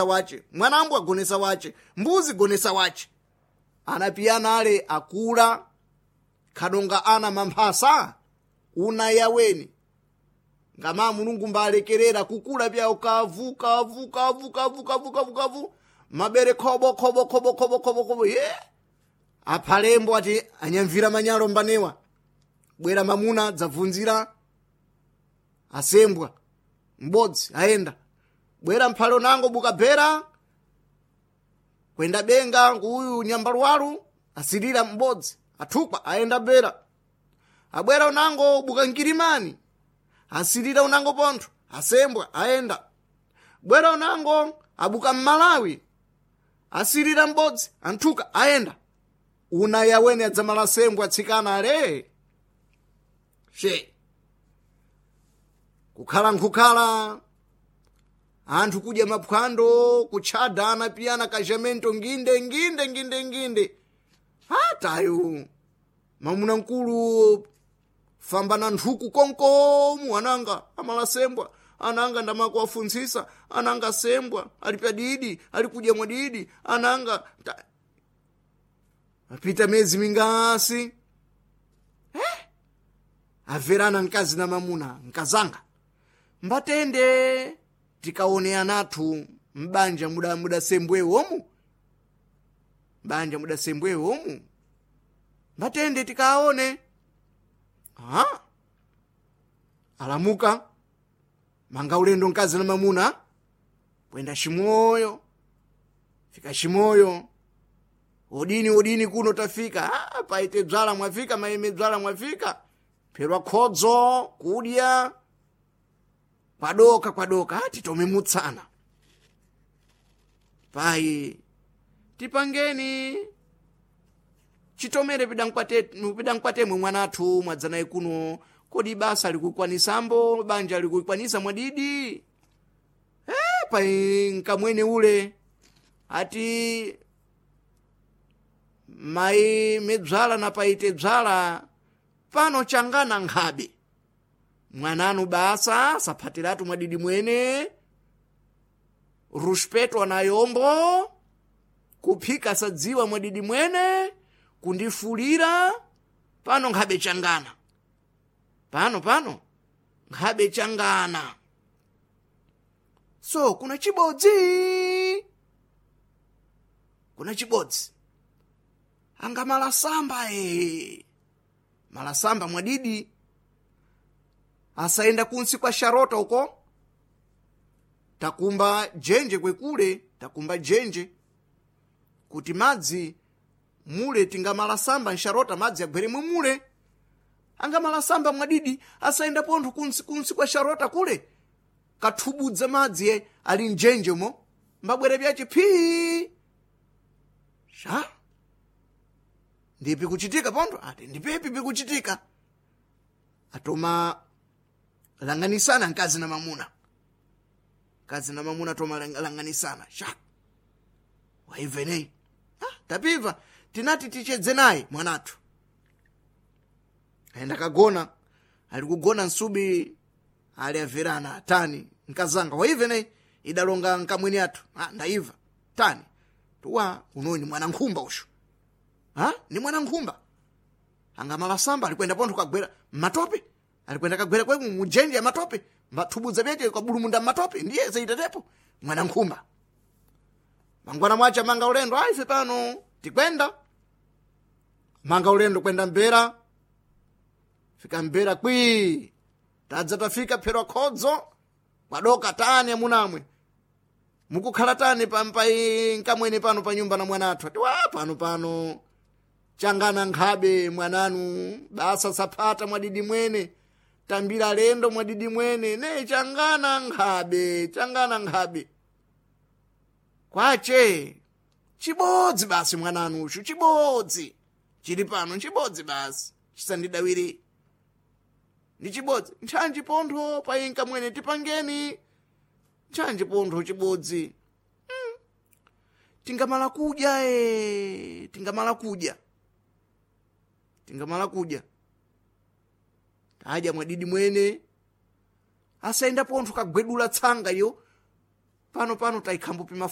Wache mwanambo agonesa wache mbuzi gonesa wache anapiyana ale akula khadonga ana mamphasa una yaweni ngama Mulungu mbalekerera kukula pyawo kavu kavu kavu kavu kavu kavu kavu mabere khobo khobo khobo khobo khobo khobo ye aphalembo ati anyamvira manyalo mbanewa bwera mamuna dzabvunzira asembwa m'bodzi ayenda bwera mphalo nango bukabhera kwenda benga nguyu nyambaluwalu asilira m'bodzi athukwa ayenda bera abwera unango buka nkirimani asilira unango pontho asembwa ayenda bwera unango abuka mmalawi asilira m'bodzi anthuka ayenda una yawene adzamala asembwa atsikana ale she kukhala nkhukhala anthu kudya maphwando kutchada anapiyana kajamento nginde nginde nginde nginde atayo mamuna mkulu famba na nthuku konkomu ananga amalasembwa ananga ndamakuwafuntsisa ananga sembwa ali padidi ali kudya mwadidi ananga ta... apita mezi mingasi eh? Averana mkazi na mamuna nkazanga mbatende tikaone anathu mbanja muda mudasembwewomu mbanja mudasembwewomu mbatende tikaone. Aha. Alamuka manga ulendo mkazi na mamuna kwenda Shimoyo fika Shimoyo odini odini kuno tafika. Ah, paite dzala mwafika maime dzala mwafika pherwa khodzo kudya kwadoka kwadoka ati tomemutsana pai tipangeni chitomere pidankwatemwe mwanathu mwadzanayi kuno kodi basa likukwanisambo banja likukwanisa mwadidi pai nkamwene ule ati mai medzala na paite dzala pano changana nkhabe mwananu basa saphatiratu mwadidi mwene ruspeto anayombo kuphika sadziwa mwadidi mwene kundifulira pano nkhabe changana pano pano nkhabe changana so kuna chibodzi kuna chibodzi anga malasamba e malasamba mwadidi asaenda kunsi kwa sharota uko takumba jenje kwekule takumba jenje kuti madzi mule tingamalasamba nsharota madzi agweremwe mule angamalasamba mwadidi asaenda pontho kunsi kunsi kwa sharota kule kathubudza madzi ye ali mjenjemo mbabwere pyace phii sha ndipi kuchitika pontho ati ndipepi pikuchitika atoma langanisana mkazi na mamuna mkazi na mamuna atoma langanisana sha waimveneyi ah, tapiva tinati tichedze naye mwanathu ayenda kagona ali kugona nsubi ali averana tani nkazanga waiveneyi idalonga nkamwini athu ah, ndaiva tani tuwa unoyu ni mwana nkhumba ushu ha ni mwana nkhumba angamalasamba alikwenda pontho kagwera mmatope alikwenda kagwera kwe mujenje ya matope mbathubudza pyeche kabulumunda mmatope ndiye zaitetepo mwana nkhumba mangwana mwacha manga ulendo aife pano tikwenda manga ulendo kwenda mbera fika mbera kwi tadza tafika pherwa khodzo kwadoka tani amunamwe mukukhala tani pampai nkamwene pano pa nyumba na mwanathu ati wa pano pano changana nkhabe mwananu basa saphata mwadidi mwene tambira lendo mwadidi mwene ne changana nkhabe changana nkhabe kwache chibodzi basi mwananu ushu chibodzi chili pano chibodzi basi chisandidawire ndi chibodzi nthanji pontho painka mwene tipangeni nthanji pontho chibodzi Tingamala kudya e tingamala kudya tingamala kudya tadya mwadidi mwene asaenda pontho kagwedula tsanga iyo pano pano taikhambo pima.